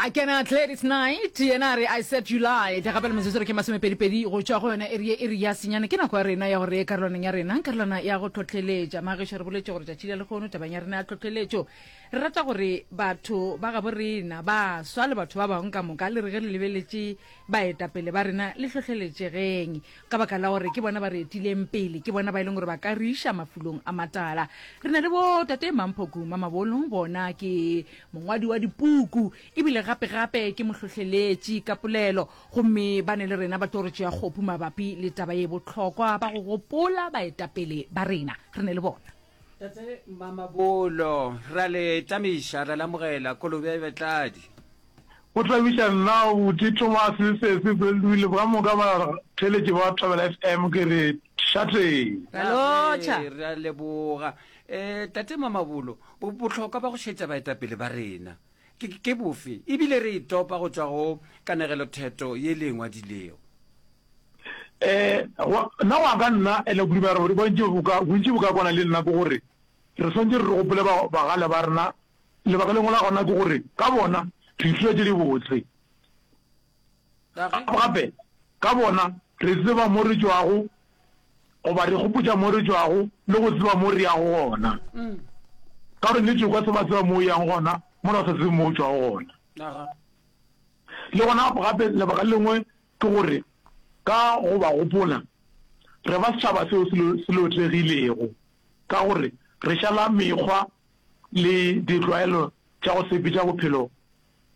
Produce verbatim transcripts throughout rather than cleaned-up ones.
A kena Gladys Knight, yena a re, I said you lied. Gape le metsotso re ke masomepedipedi go tšwa go yona iri ye, iri ya senyane. Ke nako ya rena ya gore re ye karolwaneng ya rena, karolwana ya go tlhohleletša. Magešo, re boletše gore tšatši la lehono tabeng ya rena ya tlhohleletšo, re rata gore batho ba gabo rena, baswa le batho ba bangwe ka moka, le re ge le lebeletše baetapele ba rena, le hlohleletšegeng ka baka la gore ke bona ba re etileng pele, ke bona ba e leng gore ba ka re iša mafulong a matala. Re na le bo Tate Mamphoku Mamabolo, bona ke mongwadi wa dipuku ebile gape-gape ke mohlohleletši ka polelo, gomme ba ne le rena ba tlo re tšea kgopu mabapi le taba ye bohlokwa ba go gopola baetapele ba rena. Re ne le bona. Tate Mamabolo, ra le tamiša, ra le amogela, kolobe ya Betladi. Go thabiša nna Buti Thomas le Sesi President ka moka batheeletši ba Thobela F M ke re šateng. Ra lotšha. Re a leboga. Um Tate Mamabolo, bohlokwa ba go šetša baetapele ba rena ke, ke bofe? Ebile re e topa go tšwa go kanegelotheto ye le e ngwadilego. Um nna go ya ka nna, ene kudu ba re bontši bo ka, bontši bo ka kwana le nna ke gore re swanetše re gopole ba, bagale ba rena. Lebaka lengwe la gona ke gore ka bona re ithuta tše dibotse. Gape ka bona re tseba mo re tšwago, goba re gopotša mo re tšwago le go tseba mo re yago gona. Ka gore nnete o ka se ba tseba mo o yang gona mola o sa tsebe mo o tšwago gona. Le gona gape lebaka le lengwe ke gore ka go ba gopola re ba setšhaba seo se lotegilego, ka gore re šala mekgwa le ditlwaelo tša go sepetša bophelo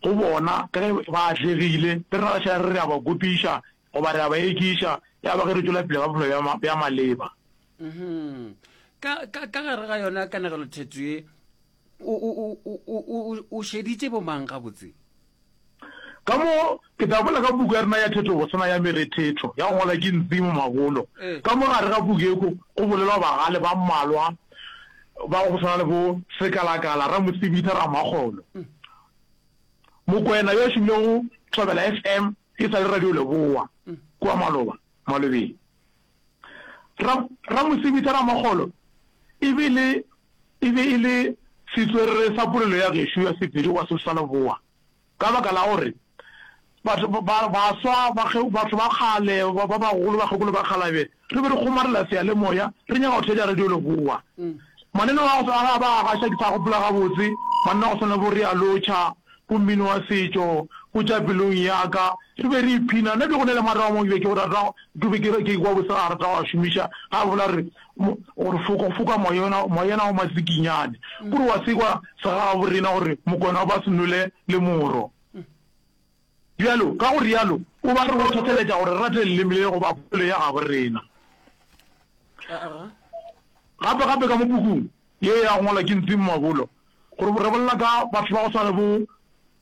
go bona ka ge ba atlegile, le rena ra šala re re a ba kopiša goba re a ba ekiša, ya ba ge re tšwela pele ka bophelo bja maleba. Ka, ka, ka gare ga yona kanegelotheto ye, o, o, o, o, o, o šeditše bomang gabotse? Ka mo, ke tla bolela ka puku ya rena ya thetobosana ya Merethetho, ya go ngwalwa ke Ntsimo Mabolo. Ka mo gare ga puku yeko go bolelwa bagale ba mmalwa ba go swana le bo Sekalakala, Ramosebitha, Ramakgolo, Mokwena yo a šomilego go Thobela F M e sa le Radio Leboa kua maloba malobeng. Ra, Ramosebitha Ramakgolo e be le, e be e le setswerere sa polelo ya gešo ya Sepedi goba Sesotho sa Leboa. Ka baka la gore batho ba baswa, batho ba kgale, ba bagolo, bakgekolo, bakgalabje, re be re kgomarela seyalemoya, re nyaka go theetša Radio Leboa. Mananeo a go a ba a gaša, ke sa gopola gabotse, mananeo a go swana le bo Re a Lotšha, bo Mmino wa Setšo, bo Tša Pelong Ya Ka, re be re iphina. Nna be go na le mareo a mangwe ke be ke rata, ke be ke ke kwa bose a rata go a šomiša, ga a bolela gore gore foka foka moyena moyena wa matsikinyane, kore wa se kwa segagaborena gore Mokwena o ba se nwele le moro. Bjalo ka go rialo o ba re go hlohleletša gore re rate leleme le goba polelo ya gabo rena. Gape gape ka mo pukung ye ya go ngwalwa ke Ntsimo Mabolo gore re bolela ka batho ba go swana le bo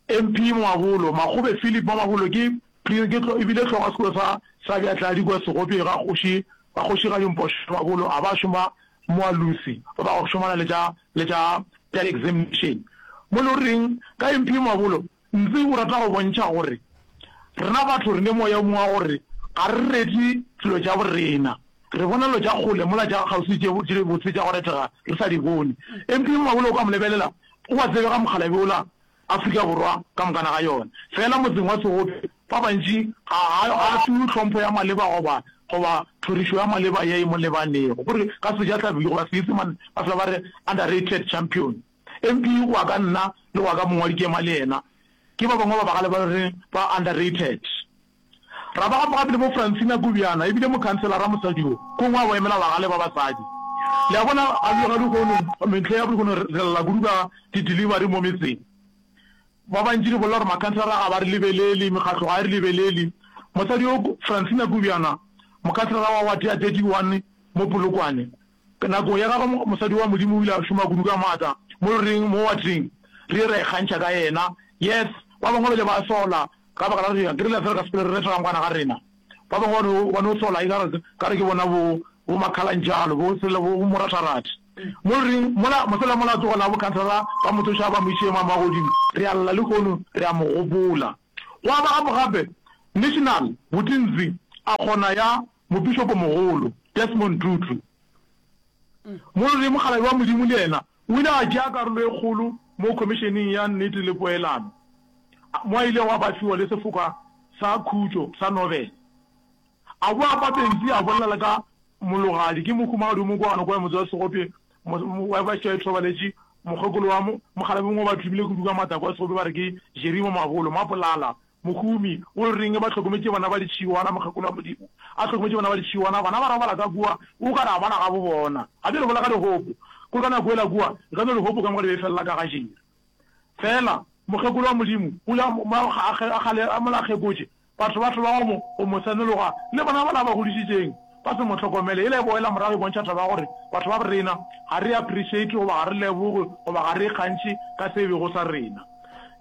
M P Mabolo, Makgobe Philip Mamabolo ke ke e bile hlogo ya sekolo sa sa Bjatladi kua Segopje ga kgoši ga kgošigadi Mpošo Mabolo a ba šoma Moalusi ba ba go šomana le tša le tša tša examination. Mo le reng ka M P Mabolo Ntse o rata go bontšha gore rena batho re ne moya o mongwe wa gore ga re rete dilo tša borena. Re bona dilo tša kgole mola tša kgauswi tše tše botse tša go retega re sa di bone. M P Mabolo o ka mo lebelela o a tsebega mokgalabje wola Afrika Borwa ka mokana ga yona. Fela motseng wa Segopje ba bantši ga ga a fiwe tlhompho ya maleba goba goba thorišo ya maleba ye e mo lebanego. Gore ka Sejatlhapi goba Seisemane ba fela ba re underrated champion. M P go ya ka nna le go ya ka mongwadi ke ema le yena ke ba bangwe ba bagale ba re ba underrated. Ra ba gape gape le bo Francina Kubyana e bile mokhanselara mosadi yo kongwe a bo emela bagale ba basadi. Le a bona ga ga lehono mehleng ya lehono re lla kudu ka di delivery mo metseng. Ba bantši re bolela gore makhanselara ga ba re lebelele, mekgatlo ga e re lebelele. Mosadi yo Francina Kubyana mokhanselara wa ward ya thirty one mo Polokwane Nakong ya gagwe mosadi wa Modimo o ile a šoma kudu ka maatla mo loreng, mo wateng. Re ile ra ikgantšha ka yena. Yes, ba bangwe ba ile ba sola ka baka la gore ke rile fela ka sepele re reta rangwana ga rena. Ba bangwe ba no, ba no sola ekare, kare ke bona bo, bo makhalanjalo, bo sele, bo, bo moratharatha. Mo loreng, mola, mosela mola a tloga la bo khanselara ba mo tloša ba mo iše magodimo. Re a lla lehono, re a mo gopola. Gwa ba gape gape National Botintsi a kgona ya Mopišopomogolo Desmond Tutu. Molori mokgalabje wa Modimo le yena o ile a tšea karolo e kgolo mo Khomišeneng ya Nnete le Poelano, Mo a ilego a ba fiwa le sefoka sa khutšo sa Nobel. A boa Papensi a bolela le ka Mologadi, ke mohumagadi o mokwana kua motse wa Segopje, wa ba šetše a ithobaletše, mokgekolo wa mokgalabje mongwe ba thomile kudu ka maatla kua Segopje ba re ke Jerimo Mabolo, Mapolala, mohumi, o reng ba hlokometše bana ba ditšhiwana, mokgekolo wa Modimo a hlokometše bana ba ditšhiwana, bana ba robala ka kua, o ka re a bana gabo bona. Ga bjale bolela ka dihopo, kore ka nako yela kua, e ka no dihopo ka moka di be felela ka ga Jerry. Fela mokgekolo wa Modimo o ile a a kgale a mola a kgekotše, batho ba thoma go mo go mo senologa, le bona bala ba godišitšeng ba se mo hlokomele. Yela e boela morago e bontšha taba ya gore batho ba rena ga re appreciate goba ga re leboge goba ga re ikgantšhe ka se e bego sa rena.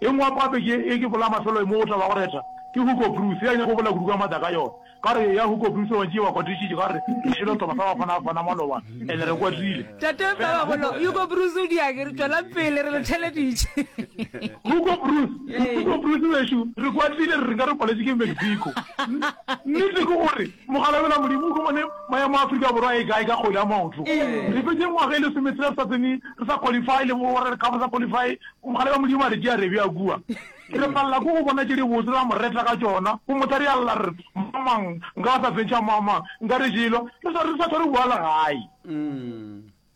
E nngwe gape ke e ke bolela mafelo mo go taba ya go reta ke Hugo Broos, ya nyaka go bolela kudu ka maatla ka yona. Ka gore ya Hugo Broos ba ntše ba kwatišitše ka gore re jele sehlopha sa Bafana Bafana maloba and re kwatile. Tate Mamabolo, Hugo Broos o diang? Re tšwelang pele re le theleditše. Hugo Broos, Hugo Broos wešo, re kwatile re re nka re paletše ke Mexico. Nnete ke gore mogala wela Modimo o humane maemo a Afrika Borwa e kae ka kgwele ya maoto. Re fetše ngwaga e lesometshela re sa tsene re sa qualify le bo World Cup re sa qualify, mogala wa Modimo a re tšea re bea kua. Re palela ke go bona tše dibotse ra mo reta ka tšona, go motha re a lla re re, Mamang, nka sa fentšha mamang, nka re jelwa, re sa re sa hlwa re boa le gae.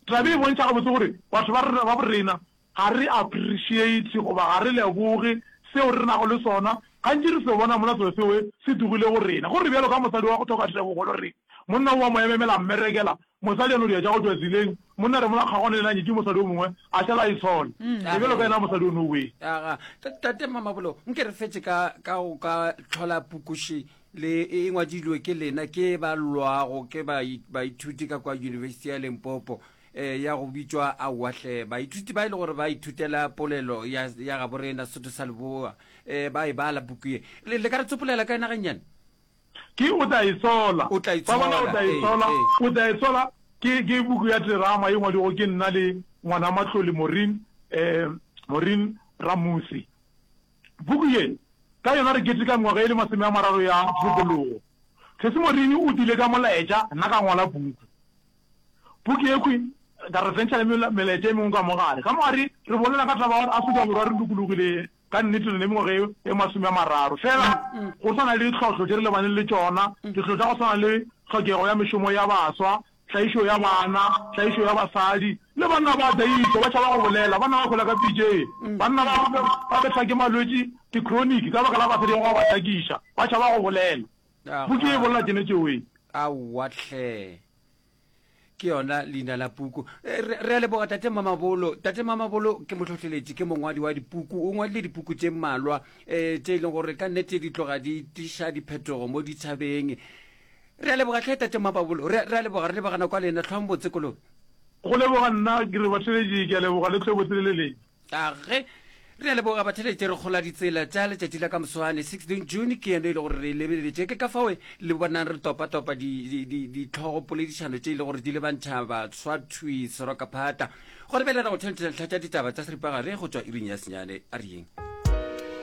Taba e bontšha gabotse gore batho ba rena ba borena ga re appreciate goba ga re leboge seo re nago le sona, gantši re se bona mola selo seo se tlogile go rena. Go re bjalo ka mosadi wa go hloka tebogo lo re monna o a mo ememela a mmerekela, mosadi a no dia tša go tšwa tseleng, monna re mola kgagwane le yena a nyetše mosadi o mongwe a šala a itshola. Re bjalo ka yena mosadi o no wee. Aga, Tate Mamabolo, nke re fetše ka ka go ka hlola pukuši le e ngwadilwe ke lena ke ba lwago ke baithuti ka kwa University ya Limpopo eh, ya go bitšwa Aowa hle. Baithuti ba e le gore ba ithutela polelo ya, ya gabo rena Sotho sa Leboa eh, ba e bala puku ye. Le, le ka re tsopolela ka yona gannyane? Ke O tla Itshola. O tla Ba bona O itshola, tla ee, Itshola. ee. O tla Itshola ke, ke puku ya terama e ngwadilwego ke nna le ngwana Matlole Maureen, eh, Maureen Ramusi. Puku ye, ka yona re keteka mengwaga e le masome a mararo ya tokologo. Sesi Maureen o tlile ka molaetša, nna ka ngwala puku. Puku yekhwi, ka re fentšha le melaetša e mengwe ka mo gare. Ka mo gare re bolela ka taba ya gore Afrika Borwa re lokologile ka nnete re ne mengwaga e, e masome a mararo. Fela go sa na le ditlhohlo tše re lebaneng le tšona, ditlhohlo tša go swana le tlhokego ya mešomo ya baswa, tlaišo ya bana, tlaišo ya basadi, le banna ba tlaišwa, ba tšhaba go bolela, banna ba hwela ka pitšeng, banna ba ba bethwa ke malwetši, di-chronic, ka baka la basadi ba go ba hlakiša, ba tšhaba go bolela. Puku ye e bolela tšene tšeoe. Aowa hle. Ke yona leina la puku. Re, re a leboga Tate Mamabolo. Tate Mamabolo ke mohlohleletši, ke mongwadi wa dipuku. O ngwadile dipuku tše mmalwa um tše e leng gore ka nnete di tloga di tliša diphetogo mo ditšhabeng. Re a leboga hle Tate Mamabolo. Re, re a leboga, re leboga nako ya lena. Hlwang botse kolobe. Go leboga nna, ke re batheeletši ke a leboga le hlwe botse le le leng. A ge re a leboga batheletše re kgola ditsela tša letšatši la ka moswane sixteen June ke yeno e le gore re e lebeletše ke ka fao le bonang re topa-topa ditlhogo poledišano tše e le gore di lebantšha baswa thwi serokaphata gore bjale ra go theletša ntlha tša ditaba tša seripagare go tšwa iring ya senyane a re yeng.